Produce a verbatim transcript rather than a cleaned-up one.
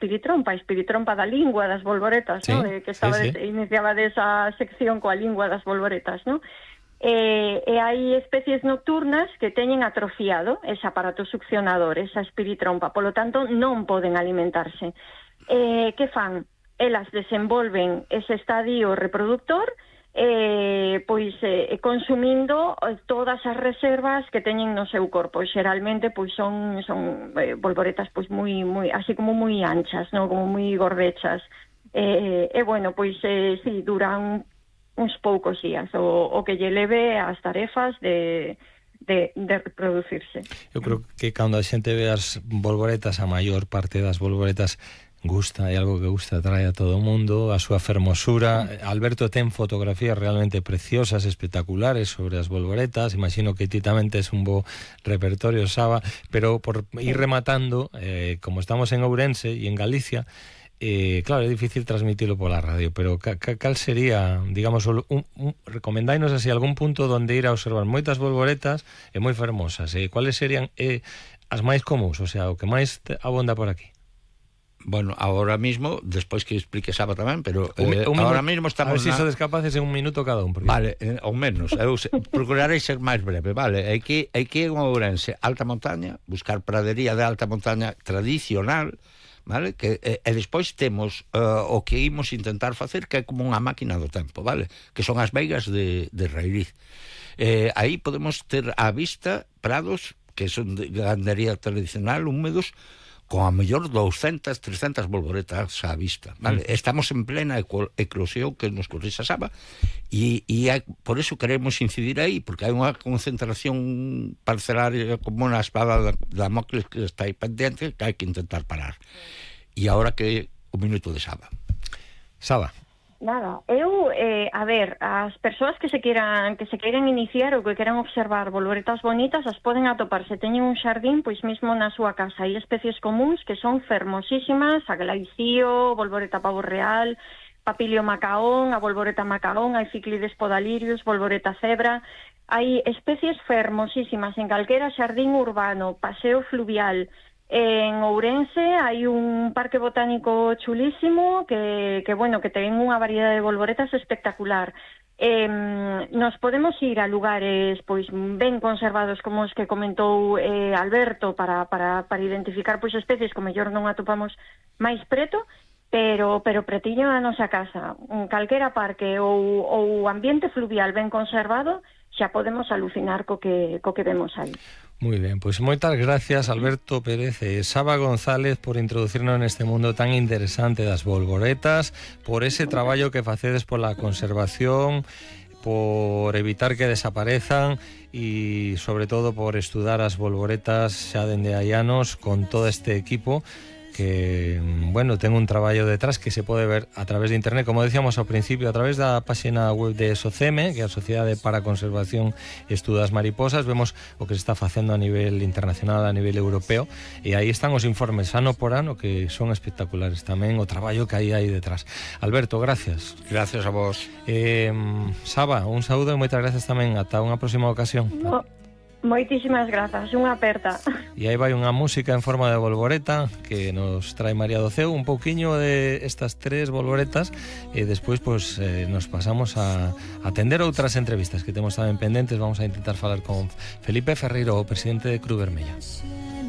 espiritrompa, a espiritrompa da lingua das bolboretas, sí, ¿no? De que estaba sí, sí. de, iniciaba desa sección coa lingua das bolboretas, ¿no? E, e hai especies nocturnas que teñen atrofiado ese aparato succionador, esa espiritrompa, polo tanto non poden alimentarse. Eh, que fan? Elas desenvolven ese estadio reproductor eh, pois eh, consumindo todas as reservas que teñen no seu corpo. Xeralmente pois son son eh, bolboretas pois moi moi así como moi anchas, no, como moi gordechas. Eh, e bueno, pois eh, si duran uns poucos días o, o que lle leve as tarefas de, de, de reproducirse. Eu creo que cando a xente ve as bolboretas, a maior parte das bolboretas gusta, é algo que gusta, trae a todo o mundo, a súa fermosura. Alberto ten fotografías realmente preciosas, espectaculares sobre as bolboretas. Imagino que ti tamén tes un bo repertorio, Saba, pero por ir rematando, eh, como estamos en Ourense e en Galicia, Eh, claro, é difícil transmitirlo pola radio, pero ca, ca, cal sería, digamos, un, un, recomendáinos así algún punto donde ir a observar moitas bolboretas e moi fermosas, e eh, cuáles serían eh, as máis comuns, o sea, o que máis abonda por aquí? Bueno, ahora mismo, despois que explique Saba tamén, pero un, eh, un ahora minuto, mismo estamos... A ver se si na... sodes capaces en un minuto cada un. Porque... Vale, eh, ou menos, eu se, procurarei ser máis breve, vale. Hai que, hai que ir a Ourense, alta montaña, buscar pradería de alta montaña tradicional, vale? Que, e, e despois temos uh, o que imos intentar facer, que é como unha máquina do tempo, vale? Que son as veigas de, de Rairiz. Eh, aí podemos ter á vista prados que son de gandería tradicional, húmedos, con a mellor doscientas, trescientas bolboretas á vista, vale? Mm. Estamos en plena eclosión que nos corrixa Saba e, e hai, por eso queremos incidir aí, porque hai unha concentración parcelaria como unha espada da Damocles que está aí pendiente, que hai que intentar parar. E agora que o minuto de Saba. Saba. Nada, eu, eh, a ver, as persoas que se queiran que se queiran iniciar ou que queiran observar bolboretas bonitas as poden atopar, se teñen un xardín, pois mesmo na súa casa. Hai especies comuns que son fermosísimas, a glaicío, bolboreta pavo real, papilio macaón, a bolboreta macaón, hai ciclides podalirius, bolboreta cebra. Hai especies fermosísimas en calquera xardín urbano, paseo fluvial. En Ourense hai un parque botánico chulísimo que, que bueno, que ten unha variedade de bolboretas espectacular. Eh, nos podemos ir a lugares pois ben conservados como os que comentou eh, Alberto para, para, para identificar pois especies que mellor non atopamos máis preto, pero, pero pretiño a nosa casa. En calquera parque ou, ou ambiente fluvial ben conservado xa podemos alucinar co que, co que vemos aí. Muy bien, pues moitas gracias Alberto Pérez e Saba González por introducirnos neste mundo tan interesante das bolboretas, por ese traballo que facedes pola conservación, por evitar que desaparezan e sobre todo por estudar as bolboretas xa dende hai anos con todo este equipo que, bueno, ten un traballo detrás que se pode ver a través de internet, como decíamos ao principio, a través da página web de SOCEME, que é a Sociedade para a Conservación e Estudo das Mariposas. Vemos o que se está facendo a nivel internacional, a nivel europeo, e aí están os informes ano por ano que son espectaculares tamén, o traballo que hai aí detrás. Alberto, gracias. Gracias a vos. Eh, Saba, un saúdo e moitas gracias tamén. Ata unha próxima ocasión. No. Moitísimas grazas, unha aperta. E aí vai unha música en forma de bolboreta que nos trae María do Ceo, un pouquiño de estas tres bolboretas, e despois pues, eh, nos pasamos a atender outras entrevistas que temos tamén pendentes. Vamos a intentar falar con Felipe Ferreiro, o presidente de Cruz Vermella.